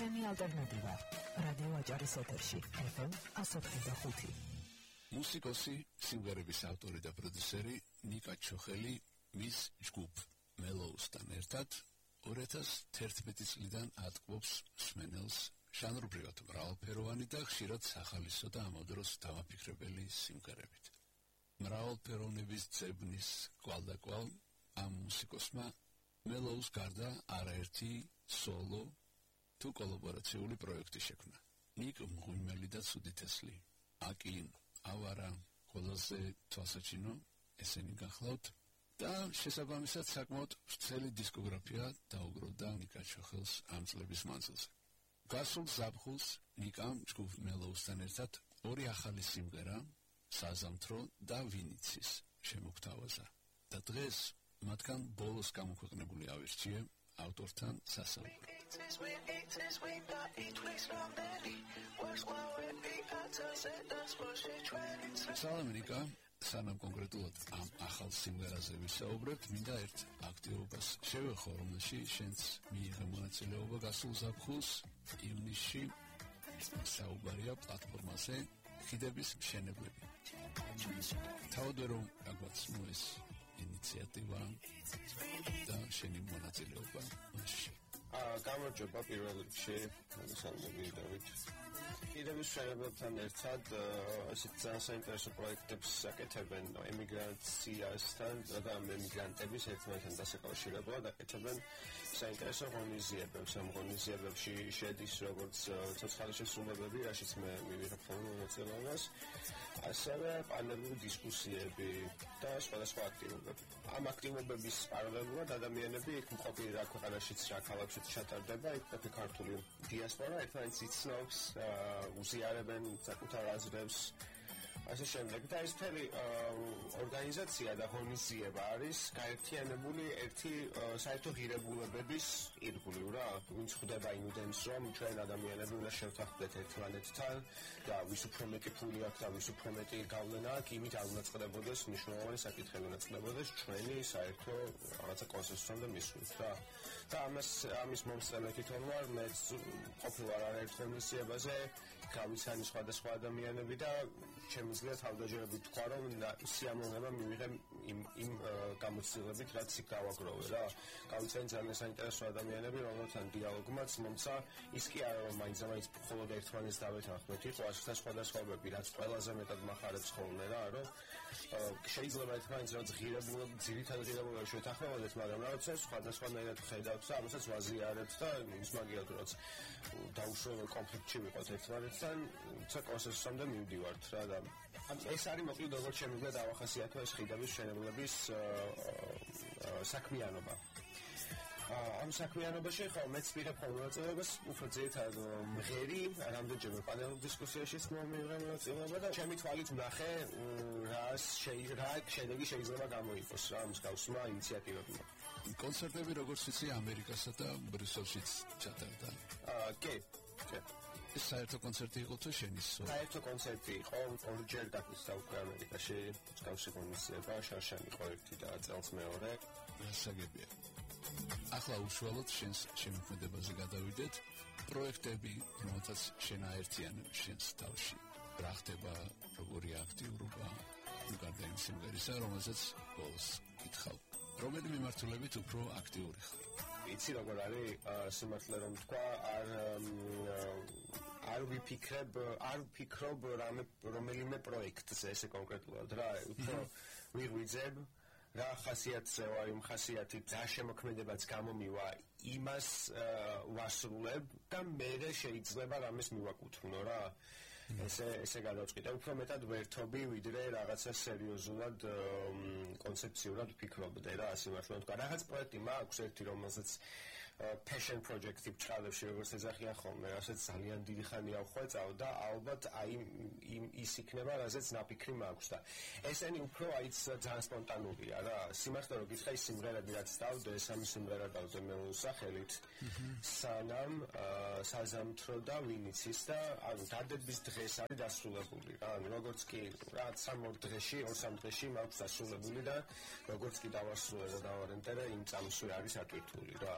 ჩემი ალტერნატივა რადიო აჭარის ეთერში FM 105. მუსიკოსი, სიმღერების ავტორი და პროდიუსერი ნიკა ჩოხელი მის ჯგუფ მელოუსთან ერთად 2011 წლიდან ატყობს მსმენელს ჟანრობრივად მრავალფეროვანი და ხშირად სახალისო და ამავდროს დამაფიქრებელი სიმღერებით. მრავალფეროვნების ძებნის კვალდაკვალ ამ მუსიკოსმა მელოუს გარდა არაერთი სოლო თუ კოლაბორაციული პროექტი შექმნა. ნიკ მღვიმელი და ცუდითესლი, აკინ, ავარა, ყველაზე თვალსაჩინო, ესენი გახლავთ და შესაბამისად საკმაოდ ვრცელი დისკოგრაფია დაუგროვდა ნიკა ჩოხელს ამ წლების მანძილზე. გასულ ზაფხულს ნიკამ ჯგუფ მელოუსთან ერთად ორი ახალი სიმღერა, საზამთრო და ვინიცის შემოგთავაზა და დღეს მათგან ბოლოს გამოქვეყნებული ავირჩიე ავტორთან სასაუბრო. სალამი ნიკა, სანამ კონკრეტულად ამ ახალ სიმღერაზე ვისაუბრებთ, მინდა ერთ აქტივობას შევეხო, რომელშიც შენც მიიღე მონაწილეობა გასულ ზაფხულს ივნისში საუბარია პლატფორმაზე ხიდების მშენებლები. თავად რომ რაღაც ეს ინიციატივა და შენი მონაწილეობა მასში. გამარჯობა პირველ რიგში, მოგესალმებით დავით. ხიდების მშენებლებთან ერთად ასეთ ძალიან საინტერესო პროექტებს აკეთებენ ემიგრაციასთან და ემიგრანტების ერთმანეთთან დასაკავშირებლად აკეთებენ საინტერესო ღონისძიებებს. ამ ღონისძიებებში შედის როგორც ცოცხალი შესრულებები, რაშიც მე მივიღებ ხოლმე მონაწილეობას, ასევე პანელური დისკუსიები და სხვადასხვა აქტივობები. ამ აქტივობების პარალელურად ადამიანები იქ მყოფი რა ქვეყანაშიც რა ქალაქშიც ჩატარდება, იქ მყოფი ქართული დიასპორა ერთმანეთს იცნობს, უზიარებენ საკუთარ აზრებს, ასე შემდეგ. და ეს მთელი ორგანიზაცია და ღონისძიება არის გაერთიანებული ერთი საერთო ღირებულებების ირგვლივ რა. ვინც ხვდება იმდენს, რომ ჩვენ ადამიანები უნდა შევთანხმდეთ ერთმანეთთან და ვის უფრო მეტი ფული აქვს და ვის უფრო მეტი გავლენა აქვს, იმით არ უნდა წყდებოდეს მნიშვნელოვანი საკითხები, უნდა წყდებოდეს ჩვენი საერთო რაღაცა კონსენსუსამდე მისვლით რა. და ამის მომსწრე თვითონ ვარ, მეც ყოფილვარ არაერთ ღონისძიებაზე, გავიცანი სხვადასხვა ადამიანები და შემიძლია თავდაჯერებით თქვა, რომ სიამოვნება მივიღე იმ გამოცდილებით, რაც იქ გავაგროვე რა. გავიცანი ძალიან საინტერესო ადამიანები, რომელთან დიალოგმაც მომცა, ის კი არა რომ მაინც მხოლოდ ერთმანეთს დავეთანხმეთ, იყო ასეთ სხვადასხვაობები, რაც ყველაზე მეტად მახარებს ხოლმე რა, რომ შეიძლება ერთმანეთს რაც ძირითადად ღირებულებაში შეთანხმებოდეთ, მაგრამ რაღაცა სხვადასხვანაირად ხედავთ და ამასაც ვაზიარებთ და ის მაგიათ რაც დაუშვებელ კონფლიქტში ვიყოთ ერთმანეთთან, ცა კონსენსუსამდე მივდივართ რა და ეს არის მოკლედ როგორც შემიძლია დავახასიათო ეს ხიდების მშენებლობის საქმიანობა. ამ საქმიანობაში ხო მეც ვიღებ მონაწილეობას უფრო ძირითადად მღერი, რამდენჯერმე პანელურ დისკუსიაშიც მივიღე მონაწილეობა და ჩემი თვალით ვნახე რა შედეგი შეიძლება გამოიყოს რა მსგავსმა ინიციატივებმა. კონცერტები როგორც იცი ამერიკასა და ბრიუსელშიც ჩატარდა. კი. ეს საერთო კონცერტი იყო თუ შენი სოლო? საერთო კონცერტი იყო, ორჯერ გაგზავნა უკვე ამერიკაში, მსგავსი ღონისძიება, შარშანი იყო ერთი და წელს მეორე. გასაგებია. ახლა უშუალოდ შენს შემოქმედებაზე გადავიდეთ. პროექტები, რომელთაც შენ აერთიანებ შენს თავში. რა ხდება, როგორი აქტიურობა, გარდა იმ სიმღერისა, რომელზეც ბოლოს გითხავ. რომელი მიმართულებით უფრო აქტიური ხარ? იცი როგორ არის სიმართლე რომ თქვა, არ ვფიქრობ რომელიმე პროექტზე ესე კონკრეტულად რა, უფრო ვიღვიძებ რა ხასიათზეა, იმ ხასიათით რა შემოქმედებაც გამომივა, იმას ვასრულებ და მე შეიძლება რამეს მივაკუთვნო რა. ესე გადავწყვიტე, უფრო მეტად ვერთობი, ვიდრე რაღაცა სერიოზულად კონცეფციურად ვფიქრობდე რა, სიმართლე რომ თქვა. რაღაც პროექტი მაქვს ერთი, რომელსაც passion project-ი ბრალებში როგორც ეძახიან ხოლმე, რასაც ძალიან დიდი ხანია ვხვეწავ და ალბათ აი ის იქნება, რაზეც ნაფიქრი მაქვს და ესენი უფრო აიც ძალიან სპონტანურია რა. სიმართლე რომ გითხრა, ის სიმღერები რაც დავდე, სამი სიმღერა დავდე მელოუს სახელით, სანამ საზამთრო და ვინიცის და ანუ დადების დღეს არის დასრულებული რა. როგორც კი რა 3 დღეში, 2-3 დღეში მაქვს დასრულებული და როგორც კი დავასრულე და დავარენტერე, იმ წამსვე არის ატვირთული რა.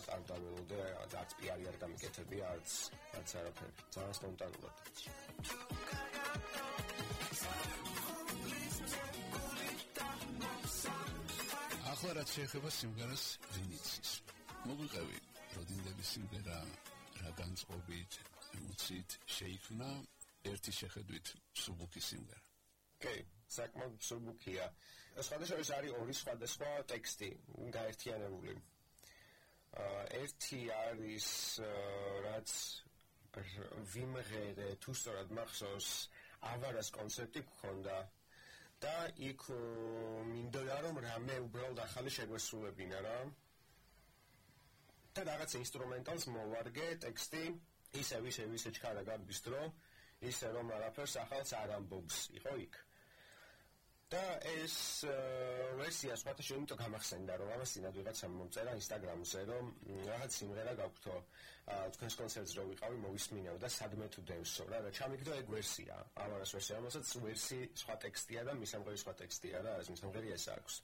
არ დაველოდე, არც პიარი არ გამიკეთებია, არც არაფერი. ძალიან სპონტანურად. ახლა რაც შეეხება სიმღერას ვინიცის. მოგვიყევი როდინდების სიმღერა რა განწყობით, ემოციით შეიქმნა ერთი შეხედვით სუბუქი სიმღერა. საკმაოდ სუბუქია. სხვადასხვა არის ორი სხვადასხვა ტექსტი გაერთიანებული. ერთი არის რაც ვიმღერე თუ სწორად მახსოვს ავარას კონცერტი გქონდა და იქ მინდოდა რომ რამე უბრალოდ ახალი შეგვესრულებინა რა. და რაღაც ინსტრუმენტალს მოვარგე ტექსტი ისე ჩქარა გარბის დრო ისე რომ არაფერს ახალს არ ამბობს იყო იქ. და ეს ვერსია სხვათა შორის იმიტომ გამახსენდა რომ ამას წინათ ვიღაცამ მომწერა ინსტაგრამზე რომ რაღაც სიმღერა გაგვთო თქვენს კონცერტზე რო ვიყავი მოვისმინეო და სადმე თუ დევსო რა და ჩამიგდო ეგ ვერსია ამას ვერსია რომელსაც ვერსი სხვა ტექსტია და მის სამღერის სხვა ტექსტია რა ეს მის სამღერი ეს აქვს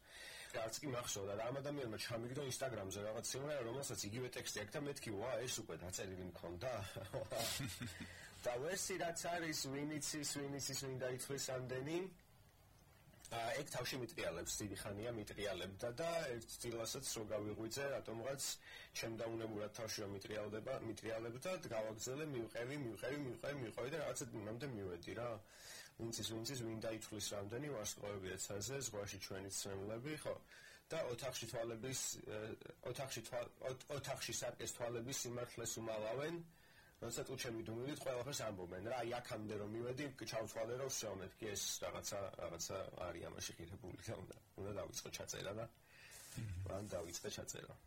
რაც კი მახსოვდა და ამ ადამიანმა ჩამიგდო ინსტაგრამზე რაღაც სიმღერა რომელსაც იგივე ტექსტი აქვს და მეთქი ვა ეს უკვე დაწერილი მქონდა და ვერსი რაც არის ვინიცის ვინ დაითვლის ამდენი ეგ თავში მიტრიალებს, დიდი ხანია მიტრიალებდა და ერთ წილასაც რო გავიღვიძე, რატომღაც შემდაუნებურად თავში რომ მიტრიალებდა, გავაგზელე, მივყევი და რაღაცა იმამდე მივედი რა. ვინცის ვინ დაითვლის რამდენი ვარსკვლავები ეცაზე, ზღვაში ჩვენი ცრემლები, ხო? და ოთახში სარკეს თვალების სიმართლეს უმალავენ. როცა თუ შემიდუმილით ყველაფერს ამბობენ რა აქამდე რომ მივედი ჩავთვალე რომ всё მეთქი ეს რაღაცა არის ამაში ხირებული და უნდა დავიწყო ჩაწერა და მან დავიწყე ჩაწერა